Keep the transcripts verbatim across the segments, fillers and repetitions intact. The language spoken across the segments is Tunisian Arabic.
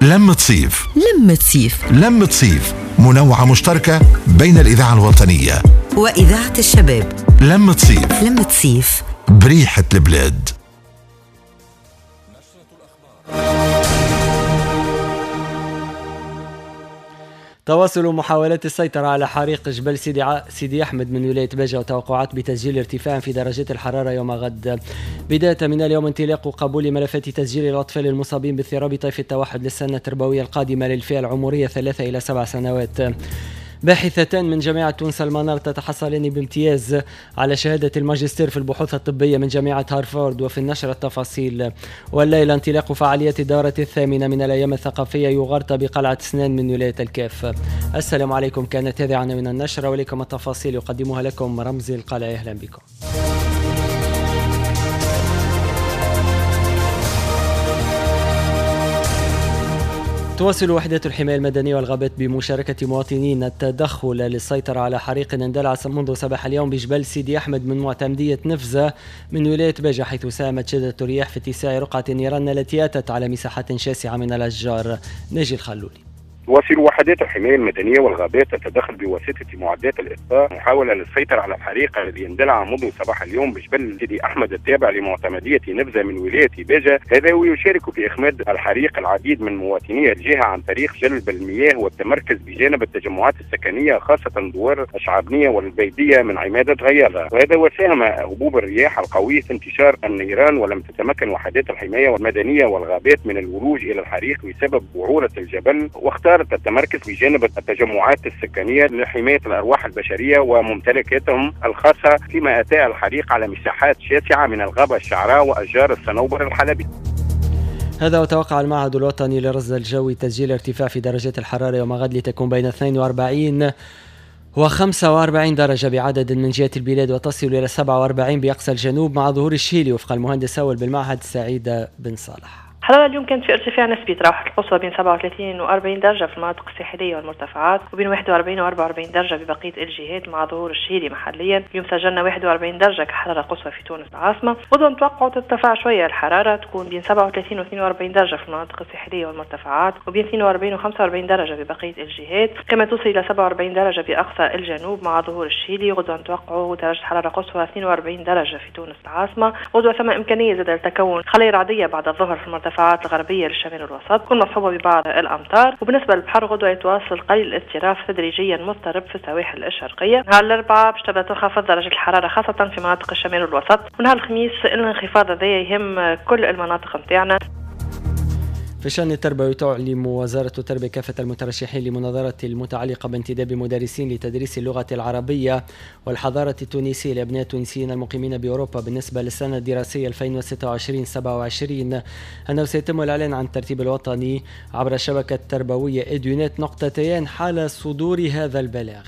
لمة صيف لمة صيف لمة صيف منوعة مشتركة بين الإذاعة الوطنية وإذاعة الشباب. لمة صيف لمة صيف بريحة البلاد. تواصل محاولات السيطرة على حريق جبل سيدي, ع... سيدي أحمد من ولاية باجة وتوقعات بتسجيل ارتفاع في درجات الحرارة يوم غد. بداية من اليوم انطلاق قبول ملفات تسجيل الأطفال المصابين باضطراب طيف التوحد للسنة التربوية القادمة للفئة العمرية ثلاثة إلى سبع سنوات. باحثتان من جامعة تونس المنار تتحصلان بامتياز على شهادة الماجستير في البحوث الطبية من جامعة هارفارد. وفي النشرة التفاصيل. والليلة انطلاق فعالية الدورة الثامنة من الأيام الثقافية يغرط بقلعة سنان من ولاية الكاف. السلام عليكم، كانت هذه عناوين النشرة ولكم التفاصيل يقدمها لكم رمزي القلعة. أهلا بكم. تواصل وحدة الحماية المدنية والغابات بمشاركة مواطنين التدخل للسيطرة على حريق اندلع منذ صباح اليوم بجبل سيدي أحمد من معتمدية نفزة من ولاية باجة، حيث ساهمت شدة الرياح في اتساع رقعة النيران التي أتت على مساحات شاسعة من الأشجار. ناجي الخلولي. تواصل وحدات الحماية المدنية والغابات التدخل بواسطة معدات الإطفاء محاولة للسيطرة على الحريق الذي اندلع منذ صباح اليوم بجبل سيدي أحمد التابع لمعتمدية نفزة من ولاية باجة. هذا ويشارك في إخماد الحريق العديد من مواطني الجهة عن طريق جلب المياه والتمركز بجانب التجمعات السكنية خاصة دوار الشعبنية والبيدية من عمادة غياضة. وهذا وساهم هبوب الرياح القوي في انتشار النيران، ولم تتمكن وحدات الحماية المدنية والغابات من الولوج إلى الحريق بسبب وعورة الجبل، واختار التمركز بجانب التجمعات السكنية لحماية الأرواح البشرية وممتلكاتهم الخاصة، فيما أتى الحريق على مساحات شاسعة من الغابة الشعراء وأشجار الصنوبر الحلبي. هذا وتوقع المعهد الوطني للرصد الجوي تسجيل ارتفاع في درجات الحرارة يوم غد لتكون بين اثنين وأربعين وخمسة وأربعين درجة بعدد من جهات البلاد وتصل إلى سبعة وأربعين بأقصى الجنوب مع ظهور الشيلي، وفق المهندس أول بالمعهد سعيد بن صالح. الحرارة اليوم كانت في ارتفاع نسبي تراوحت القصوى بين سبعة وثلاثين وأربعين درجة في المناطق الساحلية والمرتفعات، وبين واحد وأربعين وأربعة وأربعين درجة ببقية الجهات مع ظهور الشيلي محليا. اليوم سجلنا واحد وأربعين درجة كحرارة قصوى في تونس العاصمة. غدوة نتوقعوا ترتفع شوية الحرارة، تكون بين سبعة وثلاثين واثنين وأربعين درجة في المناطق الساحلية والمرتفعات، وبين اثنين وأربعين وخمسة وأربعين درجة ببقية الجهات، كما توصل إلى سبعة وأربعين درجة بأقصى الجنوب مع ظهور الشيلي. غدوة نتوقعوا درجة حرارة قصوى اثنين وأربعين درجة في تونس العاصمة. غدوة ثم إمكانية زاد لتكون خلايا رعدية بعد الظهر في المرتفعات الغربية للشمال والوسط، تكون مصحوبة ببعض الأمطار. وبالنسبة للبحر غدوة يتواصل قليل الاضطراب تدريجيا مضطرب في السواحل الشرقية. نهار الأربعاء باش تبدا تنخفض درجة الحرارة خاصة في مناطق الشمال والوسط، ونهار الخميس الانخفاض هذا يهم كل المناطق نتاعنا. في الشأن التربوي تعلم وزارة التربية كافة المترشحين لمناظرة المتعلقة بانتداب مدرسين لتدريس اللغة العربية والحضارة التونسية لأبناء التونسيين المقيمين بأوروبا بالنسبة للسنة الدراسية ألفين وستة وعشرين سبعة وعشرين، أنه سيتم الإعلان عن الترتيب الوطني عبر الشبكة التربوية إدونات نقطتين حال صدور هذا البلاغ.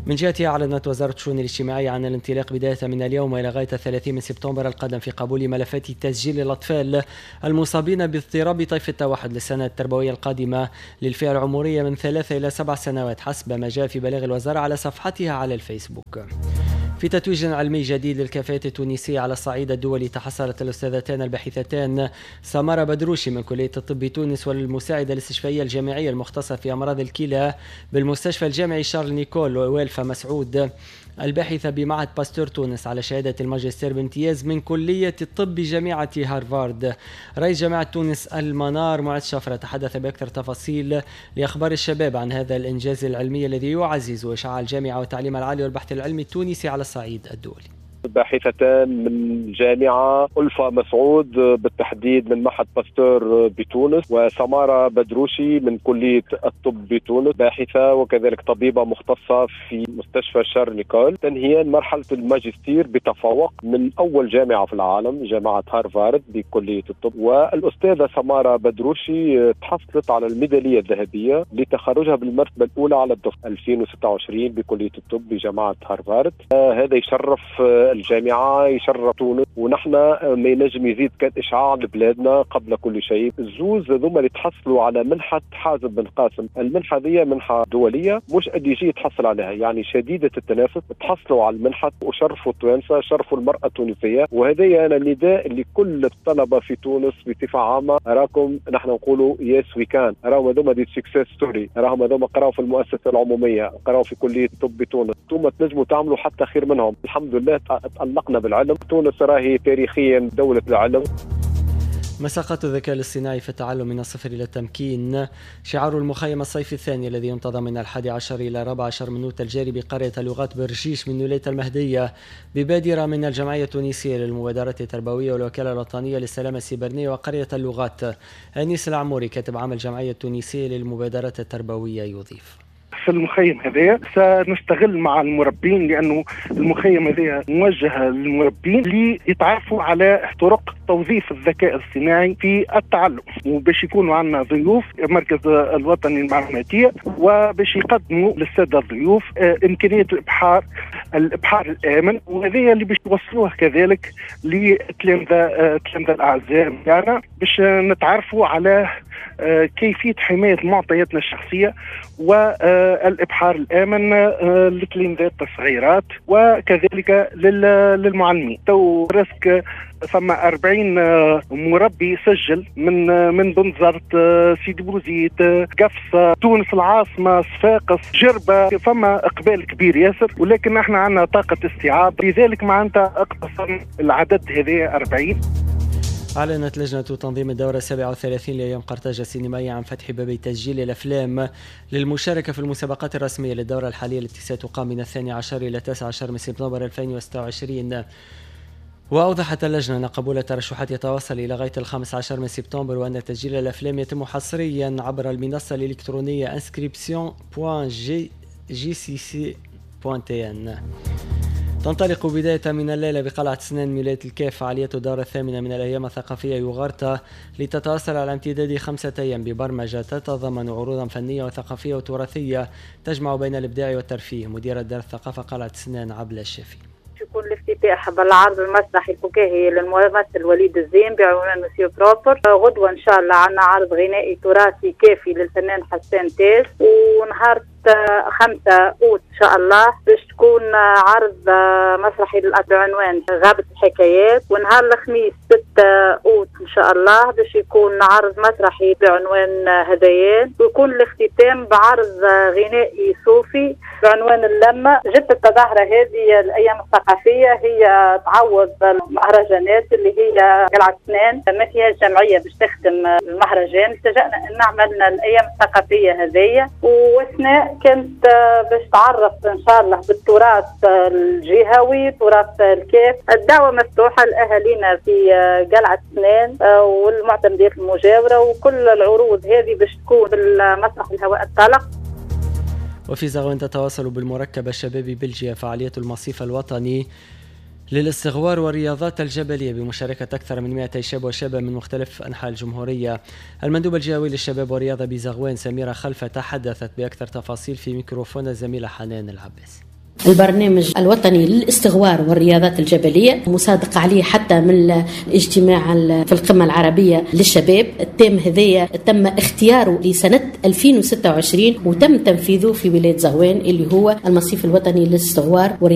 من جهتها أعلنت وزارة الشؤون الاجتماعية عن الانطلاق بداية من اليوم إلى غاية ثلاثين من سبتمبر القادم في قبول ملفات تسجيل الأطفال المصابين باضطراب طيف التوحد للسنة التربوية القادمة للفئة العمرية من ثلاثة إلى سبع سنوات حسب ما جاء في بلاغ الوزارة على صفحتها على الفيسبوك. في تتويج علمي جديد للكفاءات التونسية على الصعيد الدولي تحصلت الأستاذتان الباحثتان سمارة بدروشي من كلية الطب تونس والمساعدة الاستشفائية الجامعية المختصة في أمراض الكلى بالمستشفى الجامعي شارل نيكول والفا مسعود الباحثة بمعهد باستور تونس على شهادة الماجستير بامتياز من كلية الطب بجامعة هارفارد. رئيس جامعة تونس المنار معز شفرة تحدث بأكثر تفاصيل لأخبار الشباب عن هذا الإنجاز العلمي الذي يعزز إشعاع الجامعة والتعليم العالي والبحث العلمي التونسي على الصعيد الدولي. باحثتان من جامعة ألفا مسعود بالتحديد من معهد باستور بتونس، وسمارة بدروشي من كلية الطب بتونس، باحثة وكذلك طبيبة مختصة في مستشفى شارل نيكول، تنهيان مرحلة الماجستير بتفوق من أول جامعة في العالم جامعة هارفارد بكلية الطب. والأستاذة سمارة بدروشي تحصلت على الميدالية الذهبية لتخرجها بالمرتبة الأولى على الدفعة ألفين وستة وعشرين بكلية الطب بجامعة هارفارد. هذا يشرف الجامعة، يشرف تونس، ونحن ما ينجم يزيد كان إشعاع لبلادنا قبل كل شيء. الزوز هذوما اللي تحصلوا على منحة حازم بن قاسم، المنحة ذي منحة دولية مش اللي يجي يتحصل عليها، يعني شديدة التنافس، تحصلوا على المنحة وشرفوا التوانسة، شرفوا المرأة التونسية. وهذا أنا نداء لكل الطلبة في تونس بصفة عامة، راكم نحن نقولوا yes we can، راهم هذوما des success story، راهم هذوما قراوا في المؤسسة العمومية، قراوا في كلية الطب بتونس، انتم تنجموا تعملوا حتى خير منهم. الحمد لله تألقنا بالعلم، تونس راهي تاريخيا دولة العلم. مساقات الذكاء الاصطناعي في التعلم من الصفر إلى التمكين، شعار المخيم الصيفي الثاني الذي ينتظم من الحادي عشر إلى الرابع عشر من أوت الجاري بقرية اللغات برجيش من ولاية المهدية، ببادرة من الجمعية التونسية للمبادرات التربوية والوكالة الوطنية للسلامة السيبرنية وقرية اللغات. أنيس العموري كاتب عام الجمعية التونسية للمبادرات التربوية يضيف: في المخيم هذايا سنشتغل مع المربين، لأنه المخيم هذايا موجه للمربين ليتعرفوا على طرق توظيف الذكاء الاصطناعي في التعلم، وباش يكونوا عندنا ضيوف المركز الوطني للمعلوماتية، وباش يقدموا للسادة الضيوف إمكانية الإبحار الإبحار الآمن، وهذايا اللي باش يوصلوه كذلك للتلامذة التلامذة الأعزاء يعني باش نتعرفوا على كيفية حماية معطياتنا الشخصية والإبحار الآمن للتلامذات الصغيرات وكذلك للمعلمين. تو راسك ثم أربعين مربي سجل من من بنزرت، سيدي بوزيد، قفصة، تونس العاصمة، صفاقس، جربة، فما إقبال كبير ياسر، ولكن احنا عندنا طاقة استيعاب، لذلك معناتها اقتصرنا العدد هذا أربعين. أعلنت لجنة تنظيم الدورة السابعة والثلاثين لأيام قرطاج السينمائية عن فتح باب تسجيل الأفلام للمشاركة في المسابقات الرسمية للدورة الحالية التي ستقام من الثاني عشر إلى التاسع عشر من سبتمبر ألفين وستة وعشرين. وأوضحت اللجنة أن قبول الترشحات يتواصل إلى غاية الخامس عشر من سبتمبر، وأن تسجيل الأفلام يتم حصريا عبر المنصة الإلكترونية inscription point g c c point t n. تنطلق بداية من الليلة بقلعة سنان ولاية الكاف فعالية الدورة الثامنة من الأيام الثقافية يوغرتا، لتتواصل على امتداد خمسة أيام ببرمجة تتضمن عروضا فنية وثقافية وتراثية تجمع بين الإبداع والترفيه. مديرة دار الثقافة قلعة سنان عبلة الشافي: يكون الافتتاح بالعرض المسرحي الفكاهي للممثل وليد الزين بعنوان Monsieur Propre. غدوة إن شاء الله عندنا عرض غنائي تراثي كافي للفنان حسان تاج، ونهار خمسة أوت إن شاء الله باش تكون عرض مسرحي بعنوان غابة الحكايات، ونهار الخميس ستة أوت إن شاء الله باش يكون عرض مسرحي بعنوان هذيان، ويكون الاختتام بعرض غنائي صوفي بعنوان اللمة. جبت التظاهرة هذه الأيام الثقافية هي تعوض المهرجانات اللي هي قلعة سنان ما فيها جمعية باش تخدم المهرجان، التجأنا أن عملنا الأيام الثقافية هذه، وثناء كانت باش تعرف ان شاء الله بالتراث الجهوي، تراث الكاف. الدعوة مفتوحة لاهالينا في قلعه سنان والمعتمدات المجاورة، وكل العروض هذه باش تكون بالمسرح الهواء الطلق. وفي زغوان تتواصل بالمركب الشبابي بلجيا فعالية المصيف الوطني للاستغوار والرياضات الجبلية بمشاركة أكثر من مئتي شاب وشابة من مختلف أنحاء الجمهورية. المندوب الجهوي للشباب والرياضة بزغوان سميرة خلفة تحدثت بأكثر تفاصيل في ميكروفون الزميلة حنان العباس. البرنامج الوطني للاستغوار والرياضات الجبلية مصادق عليه حتى من الاجتماع في القمة العربية للشباب. التام هذايا تم اختياره لسنة ألفين وستة وعشرين وتم تنفيذه في ولاية زغوان اللي هو المصيف الوطني للاستغوار والرياضات